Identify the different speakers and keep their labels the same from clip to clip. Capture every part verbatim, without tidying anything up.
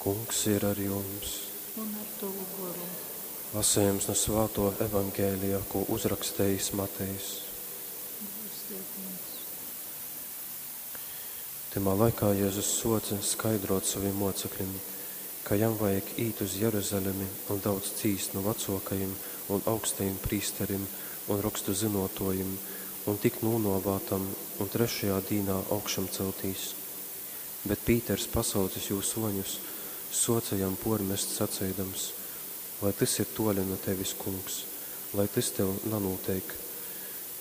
Speaker 1: Kungs ir ar jums.
Speaker 2: Un ar tovu goru.
Speaker 1: Lasījums no Svāto Evaņģēlija, ko uzrakstījis Matejs.
Speaker 2: Gods tev, Kungs.
Speaker 1: Tymā laikā Jēzus soca skaidrot savim mocekļim, ka jam vajag īt uz Jeruzalemi un daudz cīst nu vecōkajim un augstajim prīsterim un rokstu zynōtōjim un tikt nūnōvātam un trešajā dīnā augšamceltīs. Bet Pīters, pasaucis jū suoņus, suoce jam puormest, saceidams: Lai tys ir tuoli nu tevis, Kungs, lai tys tev nanūteik.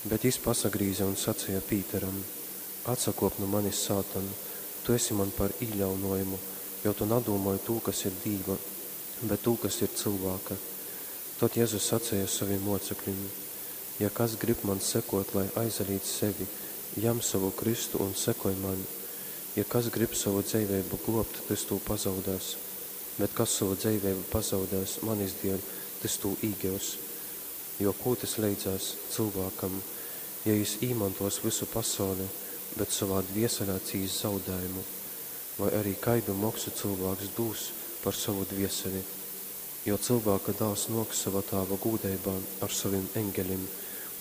Speaker 1: Bet jis pasagrīze un saceja Pīteram: Atsakuop nu manis, sātan, tu esi man par īļaunuojumu, jo tu nadūmoj tū, kas ir Dīva, bet tū, kas ir cylvāka. Tod Jezus saceja sovim mocekļim: Ja kas grib man sekot, lai aizalīdz sevi, jam sovu krystu un sekoj man. Ja kas grib sovu dzeiveibu gluobt, tys tū pazaudēs, bet kas sovu dzeiveibu pazaudēs manis dieļ, tys tū īgius. Jo kū tys leidzēs cylvākam, ja jis īmontuos vysu pasauli, bet sovā dvieselē cīss zaudējumu? Voi ari kaidu moksu cylvāks dūs par sovu dvieseli? Jo Cylvāka dāls nuoks sova Tāva gūdeibā ar sovim eņgelim,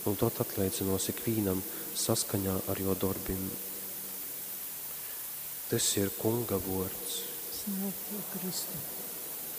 Speaker 1: un tod atleidzynuos ikvīnam saskaņā ar juo dorbim. Tys ir Kunga vuords.
Speaker 2: Slava tev, Kristu.